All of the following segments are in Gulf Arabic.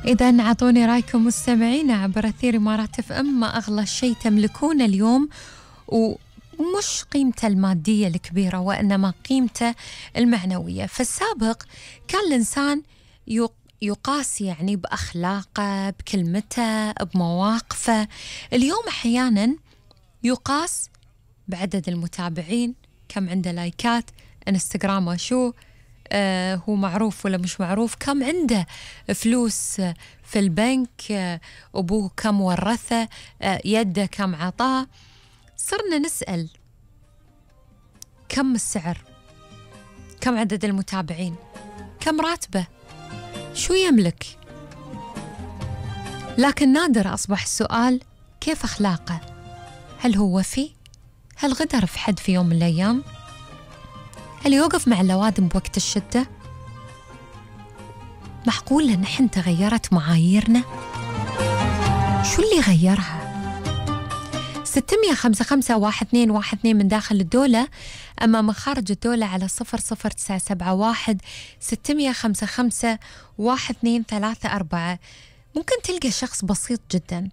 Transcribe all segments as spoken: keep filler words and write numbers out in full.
إذا عطوني رايكم مستمعين عبر أثير إمارات اف ام. ما أغلى شيء تملكونه اليوم ومش قيمته المادية الكبيرة وإنما قيمته المعنوية. في السابق كان الإنسان يقاس يعني بأخلاقه، بكلمته، بمواقفه. اليوم أحيانا يقاس بعدد المتابعين، كم عنده لايكات، انستغرام وشو آه هو معروف ولا مش معروف، كم عنده فلوس في البنك، آه أبوه كم ورثه، آه يده كم عطاه. صرنا نسأل كم السعر، كم عدد المتابعين، كم راتبه، شو يملك. لكن نادر أصبح السؤال كيف أخلاقه، هل هو وفي؟ هل غدر في حد في يوم من الأيام؟ هل يوقف مع اللوادم بوقت الشدة؟ معقولة نحن تغيرت معاييرنا؟ شو اللي غيرها؟ ستمية خمسة خمسة واحد اثنين واحد اثنين من داخل الدولة، أما من خارج الدولة على صفر صفر تسعة سبعة واحد ستمية خمسة خمسة واحد اثنين ثلاثة أربعة. ممكن تلقى شخص بسيط جدا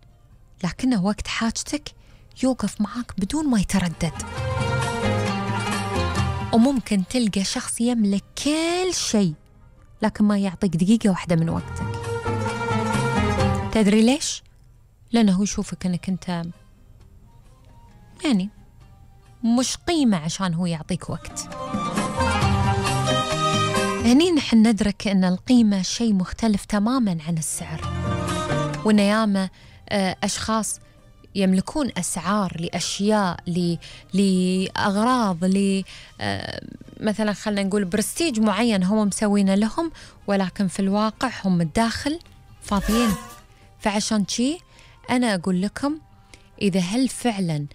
لكنه وقت حاجتك يوقف معاك بدون ما يتردد، وممكن تلقى شخص يملك كل شيء لكن ما يعطيك دقيقة واحدة من وقتك. تدري ليش؟ لأنه يشوفك أنك أنت يعني مش قيمة عشان هو يعطيك وقت. هني نحن ندرك أن القيمة شيء مختلف تماما عن السعر، وأن ياما أشخاص يملكون أسعار لأشياء، لأغراض، ل مثلا خلنا نقول برستيج معين هم مسوينه لهم، ولكن في الواقع هم الداخل فاضيين. فعشان شي أنا أقول لكم، إذا هل فعلا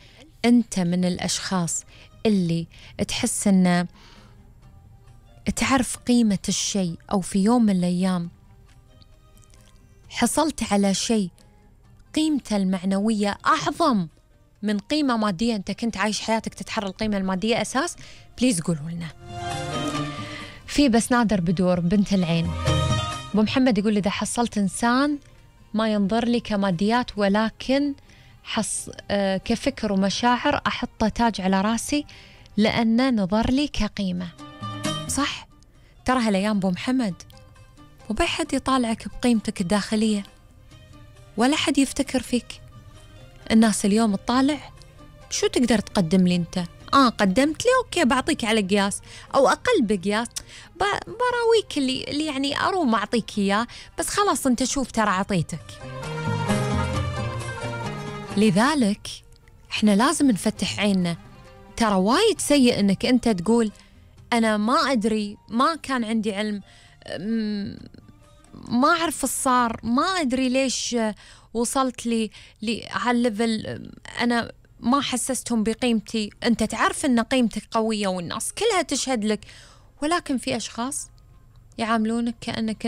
أنت من الأشخاص اللي تحس أن تعرف قيمة الشيء، أو في يوم من الأيام حصلت على شيء قيمته المعنوية أعظم من قيمة مادية، أنت كنت عايش حياتك تتحرى القيمة المادية أساس، بليز قولوا لنا. في بس نادر بدور بنت العين، أبو محمد يقول إذا حصلت إنسان ما ينظر لي كماديات ولكن حص آه كفكر ومشاعر، أحطه تاج على راسي لأنه نظر لي كقيمة. صح، ترى هالأيام أبو محمد وبي حد يطالعك بقيمتك الداخلية، ولا حد يفتكر فيك. الناس اليوم تطالع شو تقدر تقدم لي أنت؟ آه قدمت لي أوكي بعطيك على قياس أو أقل بقياس، براويك اللي, اللي يعني أروم أعطيك إياه، بس خلاص أنت شوف ترى عطيتك. لذلك إحنا لازم نفتح عيننا. ترى وايد سيء أنك أنت تقول أنا ما أدري، ما كان عندي علم، ما أعرف الصار، ما أدري ليش وصلت لي لهالليفل، أنا ما حسستهم بقيمتي. أنت تعرف أن قيمتك قوية والناس كلها تشهد لك، ولكن في أشخاص يعاملونك كأنك